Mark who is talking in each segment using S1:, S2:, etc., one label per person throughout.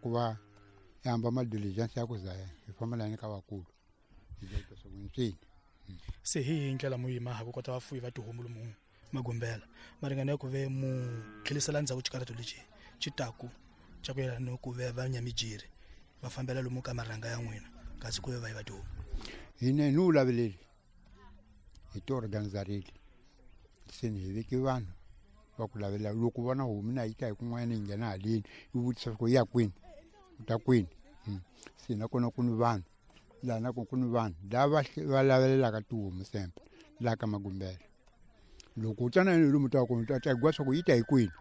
S1: ku va hi hamba ma-diligence ya ku za hi fambelani ka vakulu hi swi
S2: se hi hi ndlela mu yima ha ku kota vafuyi va tihomu lomu Magumbela maringana ya ku ve mu tlhelisela ndzhaku xikarhato lexi xi taku xa ku yelana ni ku ve va nyamijiri va fambela lomu ka marhanga ya n'wina kasi ku ve va yiva tihomu.
S1: Hina hi ni wu laveleli hi ti organizarile se ni hi veke vanhu va ku lavelela loko vona homu na yi ta hi kun'wana yi nghena haleni yi vutisa ku yi ya kwini u ta kwini se nakona ku ni vanhu laha nakona ku ni vanhu lava va lavelelaka tihomu sempe laha ka Magumbela. Loko u tsana ni lomu ta kona ta twa swa ku yi ta hi kwini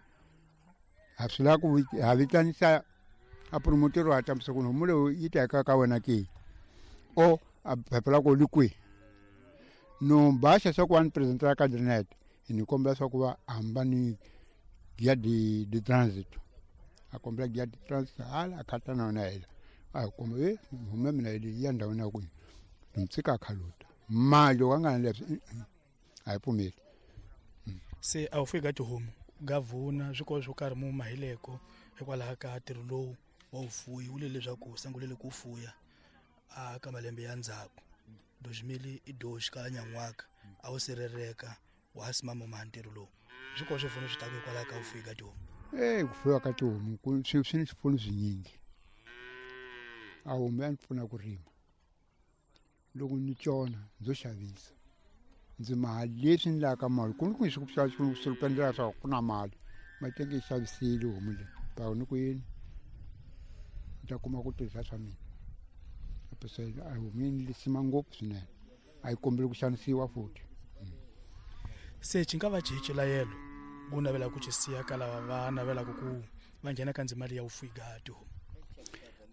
S1: ha swi lava ku ha vitanisa a promoter wa tambisa ku homu leyi yi ta ka ka wena ke o a phepha la ko li kwihi no baxa swa ku va ni presentela ka drinet hi ni kombela swa ku va hamba ni guia de transit a kombela guia de transit hala a khata na yona hela a komba e homu ya mina yi ya ndhawini ya kwihi ni tshika a khaluta mali loko a nga na leswi a yi pfumeli.
S2: Se a wu fiki ka tihomu gavhuna swikolo swo karhi mu mahileko hikwalaho ka ntirho lowu wa vufuyi wu le leswaku sangulele ku fuya a ka malembe ya ndzhaku 2012 ka nyan'waka a wu sireleka wa ha simama ma ntirho lowu swikolo swi pfuno swi taku hikwalaho ka vufuyi ka tihomu.
S1: Ku fuyiwa ka tihomu ku swi ni swipfuno swinyingi. A homu ya ni pfuna ku rima loko ni tsona ndzo xavisa ndzi mali leswi ni lavaka mali ku ni ku swi swi ku endlela swa ku na mali matenge yi xavisile homu leyi pa ni ku yini ni ta kuma ku tirhisa swa mina a homu yi ni lisima ngopfu swinene a yi kombeli ku xanisiwa futhi.
S2: Se xi nga va xihi xilayelo ku navela ku xi siya ka lava va navelaka ku va nghena ka ndzima leyi ya vufuyi ka tihomu?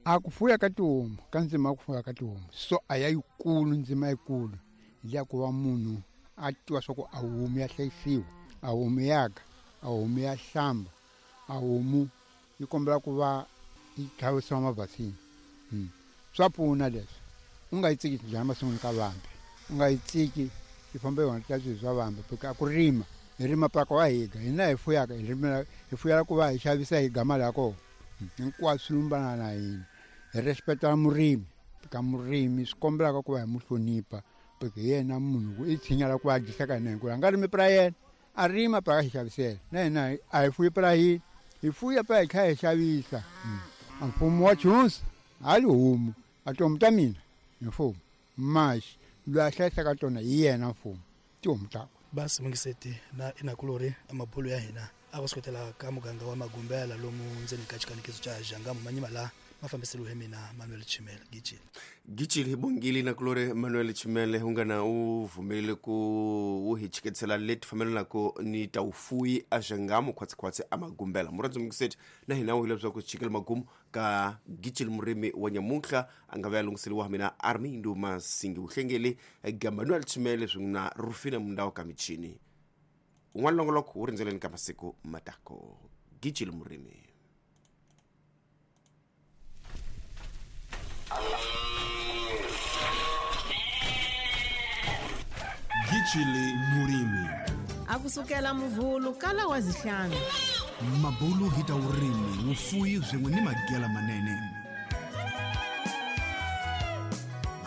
S1: A ku fuya ka tihomu ka ndzima ya ku fuya ka tihomu so a ya yikulu ndzima yikulu hi ya ku va munhu a tiva swa ku a homu ya hlayisiwa a homu ya ka a homu ya hlamba a homu yi kombela ku va yi tlhavisiwa mavhasini. Swa pfuna leswi u nga yi tsiki njhani masin'wini ka vambe u nga yi tsiki yi famba yona ta swilo swa vambe porque a ku rima hi rima paka wa higa hina hi fuyaka hi rimela hi fuyela ku va hi xavisa hi ga mali ya kona hinkwaswo swi lumbana na hina hi respecta murimi ka murimi swi kombelaka ku va hi mu hlonipha porque hi yena munhu ku i tshinya la ku va dyisaka hina hinkwerhu a nga rimi pra yena a rima pra ka xi xavisela na hina a hi fuyi pra hina hi fuya pra hi kha hi xavisa. A mfumo wa chunsa hali homu a tihomu ta mina hi mfumo maxi loyi a hlayisaka tona hi yena mfumo tihomu takwe.
S2: Basi mungiseti na inakulori amabulu ya hina a ku suketela ka muganga wa Magumbela lomu ndzeni ka xikanekiso xa Xangamu manyima la mafambiselo hi mina Manuel Chimele Gijili.
S3: Gijili bongili nakulori Manuel Chimele ungana u vumelile ku wu hi chiketsela leti fambelanako ni ta vufuyi a Xangamu khwatsi a Magumbela. Murhandzi mungiseti na hina wu hileswaku chikele magumu ka Gijili murimi wa nyamuntlha a nga va ya lunghiseliwa mina Armindo Masingi Vuhlengeli ga Manuel Chimele swin'we na Rufina Mundawo ka michini. Un'wana longoloko wu rindzeleni ka masiku matako. Gijili murimi.
S4: Gijili murimi.
S5: Akusukela muvhulu kala wa zihlanu.
S4: Mabulu hi ta vurimi, vufuyi swin'we ni magela manene.